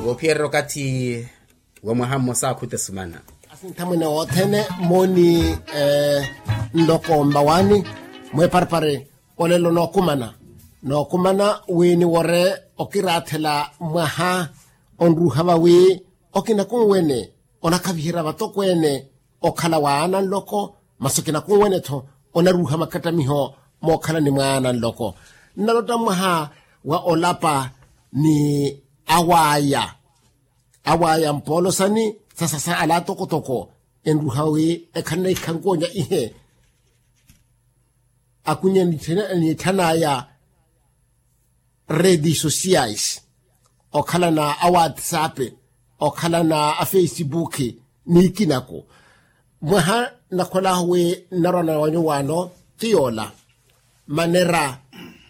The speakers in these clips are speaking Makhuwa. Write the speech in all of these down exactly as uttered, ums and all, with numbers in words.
Woophiyererya okathi wa mwaha mmosa akhuta esumana. Asinthamwene wothene mooni nloko mmawaani mweeparepare olelo nookumana nookumana wi niwore okiraathela mwaha onruuha vawi okina kunwene onakhaviherya vatokweene okhala wa aana nloko masi okina kunwene-tho onaruuha makattamiho mookhalani mwa aana nloko nnalotta mwaha wa olapa ni awaya awaya mpoolosani sasasa ala atokotoko enruha wi ekhalana ikhankonya ihe akunye niitthanaya redes sociais okhalana a whatsapp okhalana a facebook niikinako mwaha nakholaahu wi nnarwana wa nyuwaano ti yoola manera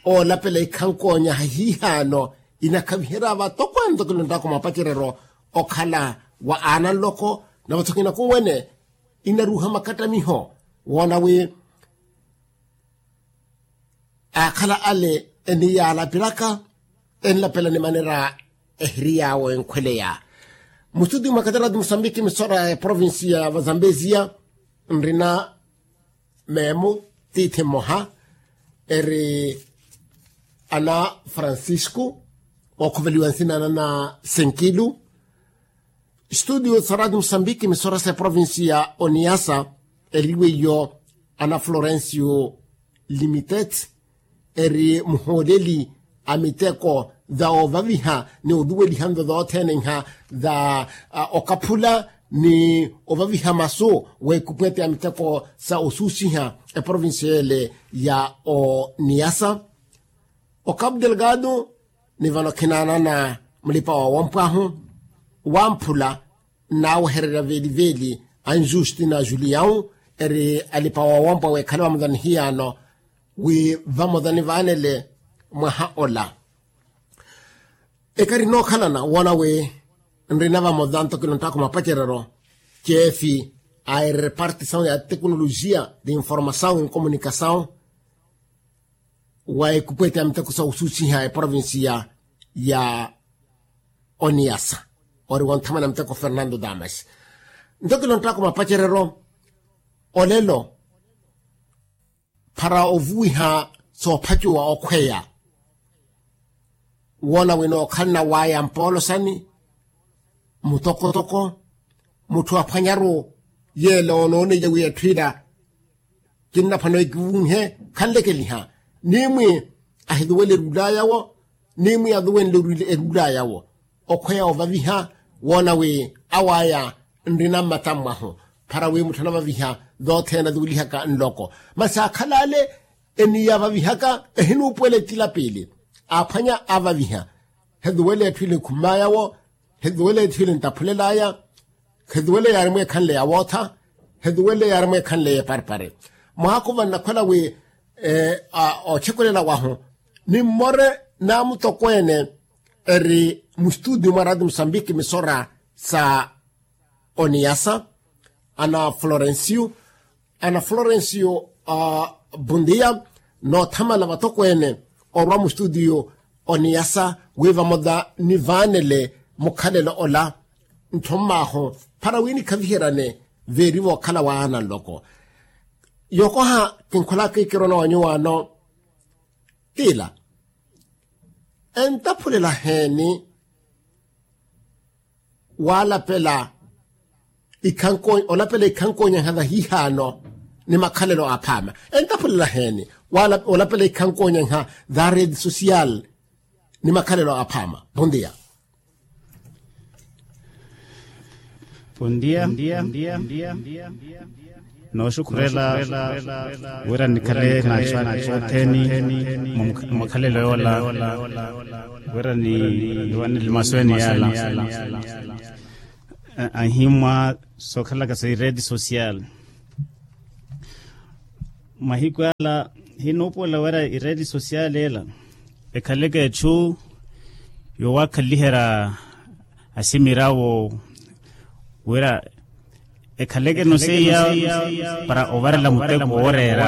oolapela ikhankonya hahiihaano inakhaviherya vatokwaani ntokilonttaku mapacereryo okhala wa aana nloko navo thokina kunwene inaruuha makattamiho woona wi aakhala ale eniyaalapelaka enlapela ni manera ehiri yaawo enkhweleya mustuti mwa katarati musambiki misora ya provinsi ya vazambeziya nrina meemu tiithi mmoha eri ana francisco ookhoveliwa nsina na na senkilu studio sa radio musambiki misora sa provinsi ya oniasa eliwe iyo ana florencio limitet eri muhooleli a miteko za ovaviha ni oluweliha nzo zothene nha za okaphula ni ovaviha masu wa ekupwete ya miteko sa osuusiha eprovincia ele ya oniyasa okapu delgado ni vano khinaanana mulipa wawompwahu wamphula nnaawehererya veeliveeli anjustina julião eri alipa wawompwa weekhale vamoza ni hiyaano wi vamoza ni vaanele mwaha ola ekari nookhalana woona wi nrina vamoza ntokino nttaakhu mapacereryo ceefi a erepartisawu ya tekinolojia de informasawu ni komunikasawu wa ekupwete ya miteko sa osuusiha eprovincia ya oniyasa ori wonthamana miteko fernando damas ntokino nttaakhu mapacereryo olelo para ovuwiha soophacuwa okhweya woona wino okhalana waya mpoolosani mutokotoko mutthu aphwanyaru yeela onooneiya wi etthu ila kinnaphwano ekivunhe khanlekeliha nimwi ahiluwele eruula yawo nimwi aluwenle eruula yawo okhweya ovaviha woona wi awaya nrina mmata mmwahu para wi mutthu anavaviha zothene aluwelihaka nloko masi akhala ale eniyavavihaka ehinuupuwela etila piili aphwanya avaviha heluwela etthu ili nkhummaya wo heluwela etthu ili ntaphulelaya heluwela yaari mweekhanle ya wootha heluwela yaari mweekhanle ya eparipari mwaakhuva nnakhwela wi ootxekulela wahu ni mmore naamutokweene eri mustudio mwa radio musambiki misora sa oniyasa ana florencio ana florencio bundia noothamala vatokweene orwa mustudio oniyasa wi vamoza nivaanele mukhalelo ola nttho mmaahu para wi nikhaviheryane veeri vookhala waana nloko yookoha kinkhwelaka ikirona wa nyuwaano tiila entaphulelaheeni walapela ikhanko olapela ikhankonyaha vahihaano ni makhalelo aphaama entaphulelaheeni olapela ikhankonyaha va rede social ni makhalelo aphaama bondia. Bondia. Nooxukhurela wira nikhale naxuwaani othene mwa makhalelo yoola wira niwanele masweeni yaala anhimwa sookhalaka sa iredi social. Mahiku ala hinuupuwela wira iredi social ela ekhaleke etthu yoowakhalihera asimirawo wira ekhaleke noseiya para ovarela muteko wooreera.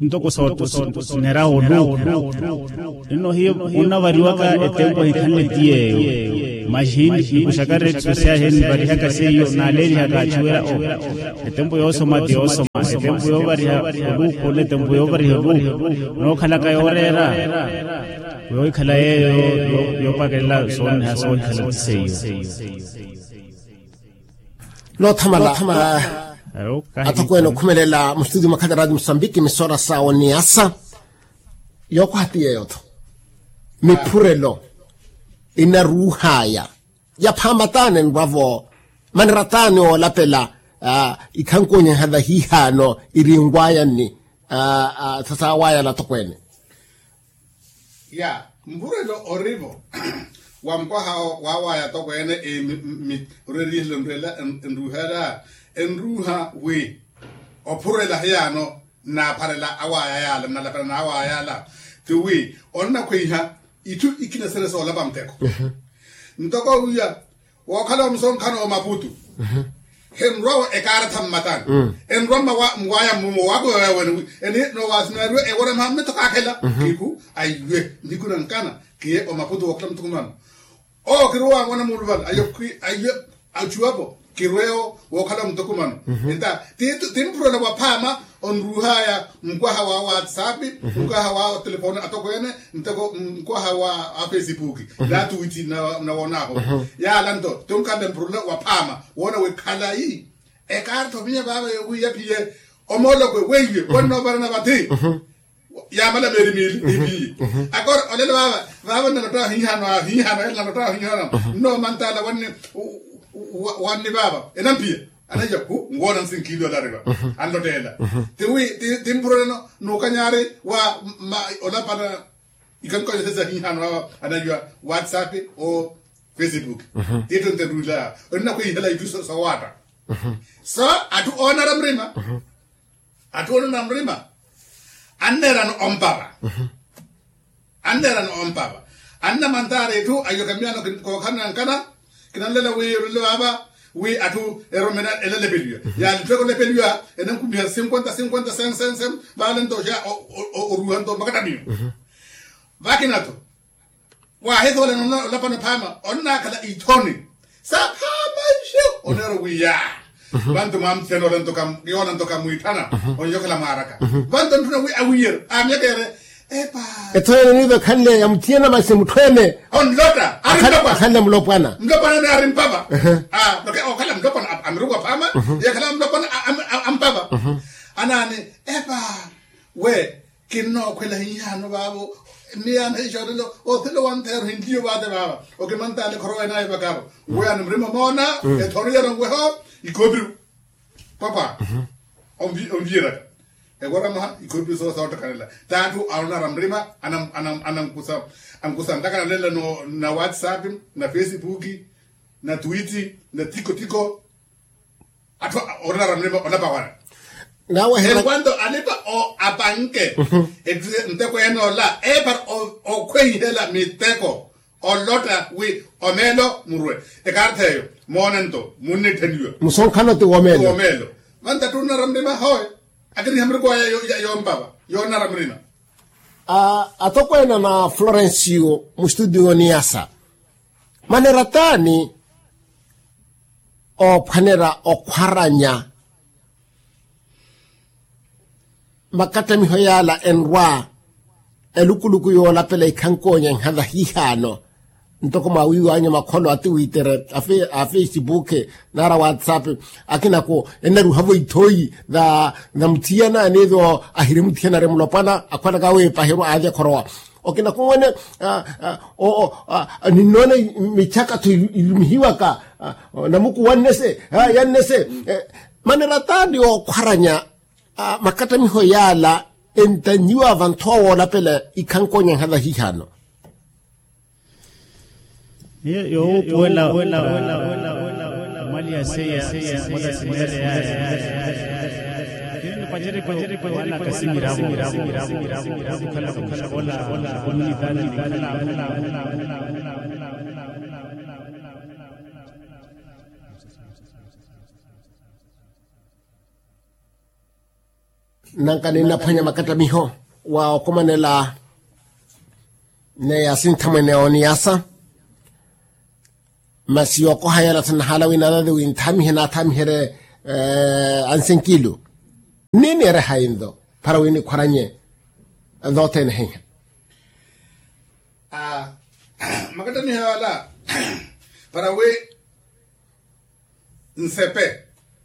Ntoko sooto sinera oluuku. Nino hiyo onnavariwaka etempo ehikhanle ti yeeyo. Maxi nikuxaka reetso syahe nivarihaka seiyo naaleerihaka achuwela o etempo yoosoma ti yoosoma etempo yoovariha oluuku ole etempo yoovariha oluuku. Nookhalaka yooreera yoohikhala yeeyo yoopakelela sooniha soohikhala ti seiyo. Noothamala. Athokweene okhumelela mustutio mwa khata radio musambiki misora sa oniyasa. Yookoha ti yeeyo-tho miphurelo inaruuhaya. Yaphaama taani enrwa-vo manera taani oolapela ikhankunyaha vahiihaano irinwaya nni sasawaya lathokweene. Ya mpurelo ori-vo wa mukwaha wawaya tokweene. Orerihela nruhela enruhela enruha wi ophurela hiyaano nnapharela awaya yaala nnalapela n'awaya yaala ti wi onnakhweiha itthu ikina sene soolapa muteko. Ntoko wiya wookhala omusonkhano omaputu henrwa ekaaratha mmatani enrwa mmawaya mmumo wakuweweya wene wi eni noowasimeeriwe ewona mha mmitho kaakhela kihu aiwe nniku nankana kiye omaputu wookhala muthukumano. Oo kiruwa mwana muuluvala ayo ayo achuwapo kirweyo wookhala muthukumano. Enta ti mpurela waphaama onruuhaya mukwaha wa whatsapp mukwaha wa telefoni atokweene ntoko mukwaha wa facebook na twitti na woonaaho. Yaala nto ti onkhanle mpurela waphaama woona wi khalayi ekaartha ovinya vaava yowiiya phiye omoolokwe weiwe wannoopalana vathi. Yaamala meeri miili ephiye akora olelo vaava vaava nnalotta ahiihano ahiihano ele nalotta ahiihano. Nno mantala wanni wanni vaava enampiya anaiya khu nwoona nsinkiili olariva anlottela. Tiwi timpureleno nuukanyari wa olapana ikankonyo sesi ahiihano vaava anaiya whatsapp o facebook. Tiitto nterulaya onnakhwiihela itthu sowaatta so atthu oonara murima atthu onona murima anneerano ompava anneerano ompava annamantaari etthu ayo kamiyano kookhalana nkana kinanlela wi erulelo vaava wi atthu eromena elalepeliwa yaani etthu ekolepeliwa enankumiha sinkwenta sinkwenta sen sen sen vaale nto oruuha nto makatamiyo vakina tho. Waahisoolana olapana phaama onnaakhala ithoni saphaama nxu oneera owiya vantu mwamutthiyana ola nto yoona nto kamwiitthana onxokhala mwaaraka vantu ntthuna wi awiiyeryo aamyakeyerye epa ethoni eniiva ekhanle yamutthiyana masi mutthweene onlota akhanle mulopwana mulopwana ni ari mpava okhala mulopwana amiruku aphaama yakhala mulopwana ampava anaani epa we kinnookhwela hiihaano vaavo miyaana hiixoolelo othelo wanttheero hinliyo vaate vaava okimantaale khorowa enaayo vakaro weyaani murima omoona ethoriyana nweho ikoopiru papa onviyeraka ekoramaha ikoopiru soottakalela t'atthu anonara murima ankusa ankusa ntakanalela na whatsapp na facebook na twitti na tiko tiko atthu oonara murima olapawana nawe hela enkwando alipa o apanke nteko enoola epara okhweihela miteko olotta wi omeelo murwe ekaartha eyo moone nto munnittheniwa musonkhano ti womeelo womeelo vantattu onnara murima howe akiniha muriko aya yompava yoonara murima atokweena na florencio mustudio niyasa manera taani oophwanera okhwaranya makattamiho yaala enrwa elukuluku yoolapela ikhankoonya nhala hiihaano ntoko mwaawiiwanya makholo atiwiitere a facebook nara whatsapp akinako ennaruhavo ithooyi na muthiyana aniivo ahiri muthiyana ari mulopwana akhwalaka aweepaherwa aavya khorowa okinako mwene ninnoona michaka-tho ilumihiwaka namuku wannese yannese manera taani yookhwaranya makattamiho yaala entannyiwa vantthu awoolapela ikhankonya nhala hiihano nanka ninnaphwanya makattamiho wa okomanela neya sinthamwene oniyasa masi yookoha yela thannahaala wi naathathi winthaamihe naathamiherye ansenkilu nniini ereha intho para wi nikhwaranye nthothene heiha makattamiho yala para wi nsepe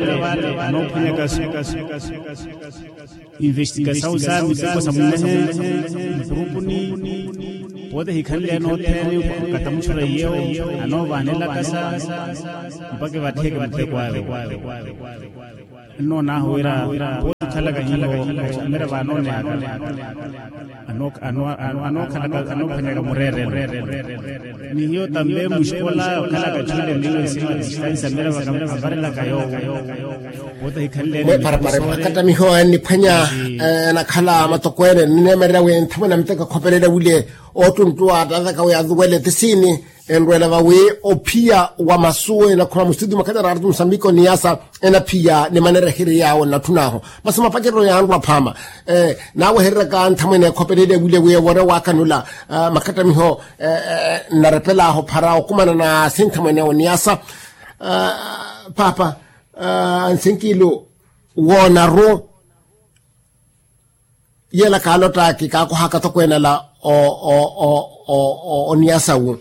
vale anoophwanyaka investigasawu sa miteko sa mwehe mukhuruupuni. Pote hikhanle nothene katamuchura iyewo anoovaanelaka sa mpaka evattheke muteko awe. Nnoonaahu wira pooti okhalaka hiyo, mira vaanoonehaka anookhalaka anoophwanyaka mureerelo. Ni hiyo tambe muxikola okhalaka txuule miyo nsima distansa mira vavarelaka yoowo. Pooti ahikhanle mwe parapara makattamiho enniphwanya enakhala matokweene nnineemererya wi nthamwene amuteko ekhopelele wile oottunttuwa attavaka wi aluwele tisiini. Enrweela vawi ophiya wa masu enakhuma mustitiyu makhattaraaratu musambiko niyasa enaphiya ni manereherye yaawo nnatthun'ahu. Masi mapacereryo yaanrwa phaama. Naawehereraka nthamwene ekhopelele wile wi ewoore waakanula makhattamiho nnarepel'ahu phara okumana na sinthamwene awo niyasa. Paapa ansinkilu woonaru. Yeela kaalottaki kaakohaka tokweene ala oniyasawu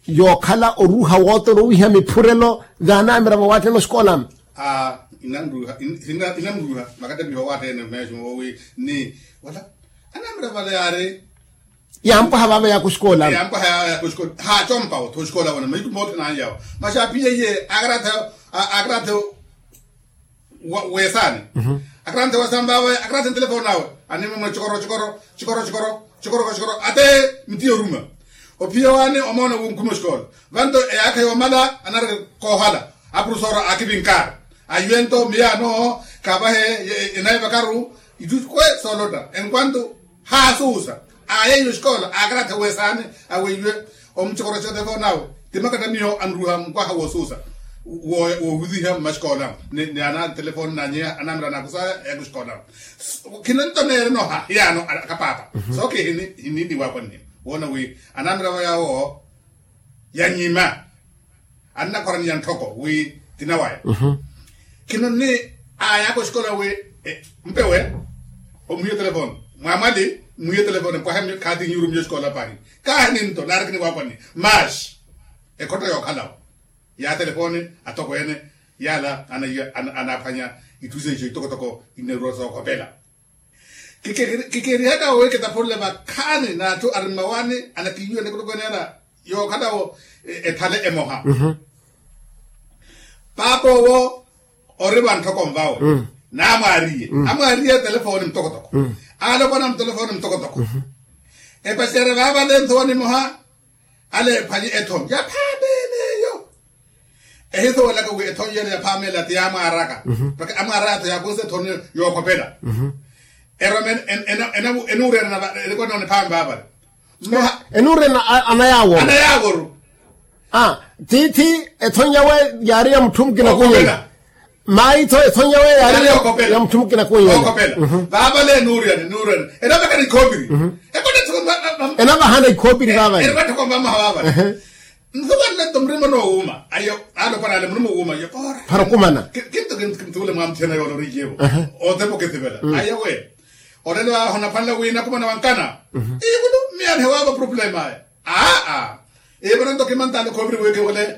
yookhala oruuha wootoro owiiha miphurelo. Yaanaamira vawaattene oxikoolamu. Inanruuha makattamiho wawaattene meexi moowi ni wala anaamira vale yaari. Yaampwaha vaava yaaka oxikoolamu. Yaampwaha yaaka oxikoolamu haacompawo tho oxikoolamu mahiku moothene anyawo. Masi aaphiya iye aakaraathe aakaraathe wesaani. Akaraanthe wesaani vawe akaraanthe ntelefoni awe animemwe cikoro cikoro cikoro cikoro cikoro cikoro ate mitiyo oruma. Ophiya waani omoona wunkhuma oxikoolo vanto eyaakha yoomala anareke koohala. Apurusooro aakivinkaari ayiwe nto miyaano kaavahe enayivakaru. Itthu kwe soolotta enkwanto haasuusa aayeiwe oxikoolo aakaraathe wesaani aweiwe omucokoroca otelefoni awe. Ti makattamiho anruuha mukwaha woosuusa woohuziha mmaxikoolamu ni ana telefoni nanyeha anaamira anaakusaya yaaka oxikoolamu. Khinanto neerenoha hiyaano akapaapa sooke hiniitti waakwanniha woona wi anaamira vo yaawo yanyima annakhwaraniya ntthoko wi tina waya. Khino nni aayaaka oxikola wi mpewe omuhiya otelefoni mwaamwali muhiya otelefoni mpwahe khaati nnyurumiya oxikola pahi. Kaahi ninto naari khiniwaakwanni maaxi ekhotto yookhalawo ya telefoni atokweene yaala anaaphwanya itthu seiso itokotoko inneerwa sookhopela. Kikerihaka wi kitaphurule vakhaani n'atthu ari mmawaani anakiiwiyana ekulukweneela yookhalawo ethale emoha. Paap'owo ori vanttoko nvawe naamwaariye amwaariye telefoni mutokotoko. Alopwana mutolofoni mutokotoko epacerya vaavale nthowa nimoha. Aleephwanye ethoni yaphaameen'eyo. Ehisuwelaka wi ethoni yeene yaphaameen'ela ti yaamwaaraka. Mpakha amwaaraya tho yaakusa ethoni yookhopela. Erome enuurena erikonoone phaame vaavale. Enuurena ana yaaworu. Ana yaaworu. Tiithi ethoni yawe yaari ya mutthu mukina kunyela. Mayi tho ethoni yawe yaari ya mutthu mukina kunyela. Vaavale enuurena enuurena enavekana ikhoopiri. Enavahana ikhoopiri vaavale. Nsuvanle nto murima onoowuuma ayo. Alopwana ale murima owuuma ayo. Para okumana. Kintu kintu kintu ule mwamutthena yoole oriiyevo. Otepa okisivela ayo we. Olelo aho naphwanela wi nakumana wankana. Ikulu mmiyanhe waavo problema aya. Aa. Ivano nto kimantale khoviri wi kiwele.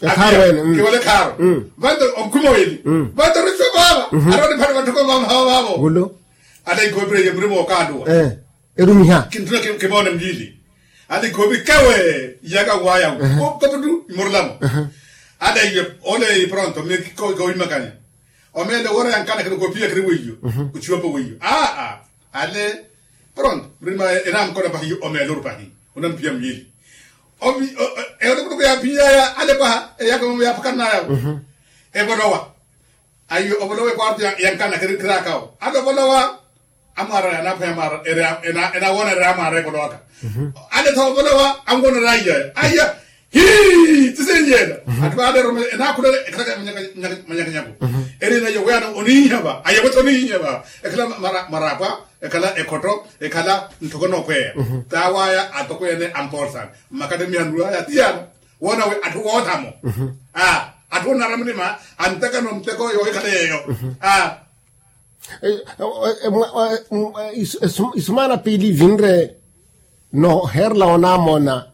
Ekhaaro ene. Kiwele ekhaaro. Vanto onkhuma wili. Vanto oriso vaava. Aroni phani vanttoko vamahawa vaavo. Gulo. Ata ikhoviri ye murima okaluwa. Erumiha. Kinttuna kivoone mwiili. Ata ikhoviri kewe iyaka wayawo. Koputu imurulamo. Ata iye ole pronto mi kowimakanya. Omeele woora yankanakela okoopiya khiri weiyo. Ochiwapa weiyo aa. Ale pronto murima enamukona pahi omeele oru pahi. Onampiya mwiili. Eyo nikutuku yaphiyaya ale paha eyaka mamo yaphakanaya. Evolowa. Ayo ovolowa ekwarto yankanakela khiraakawo ale ovolowa. Amwaaraya anaaphwanya mwaara. Enawoona eri amwaara evolowaka. Ane tho ovolowa anwoona eri aiyaya aiya. Hii tisinyela. Ati vaaleeromela enaakhulele ekhalaka manyakanyaku. Erina ayo weyano onihinya va ayo wetha onihinya va. Ekhala maraapwa ekhala ekhotto ekhala nttoko nookhweya. Taawaya atokweene ampoolsana mmakattemihani waya tiyano. Woona wi atthu woothamo atthu oonara mulima antekano nteko yoohikhala yeeyo. Isumaana piili ivinre noheerela onaamoona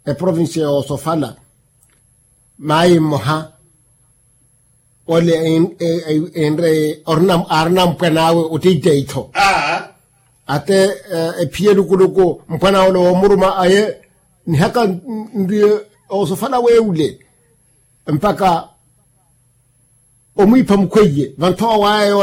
eprovincia yoosofala. Maayi mmoha ole enre aarina mpwan'awe oteiteitho. Ate ephiya elukuluku mpwan'awe ole woomuruma aye nihaka nriye oosofala weewule mpakha omwiipha mukhweiye vanthowa waya yoola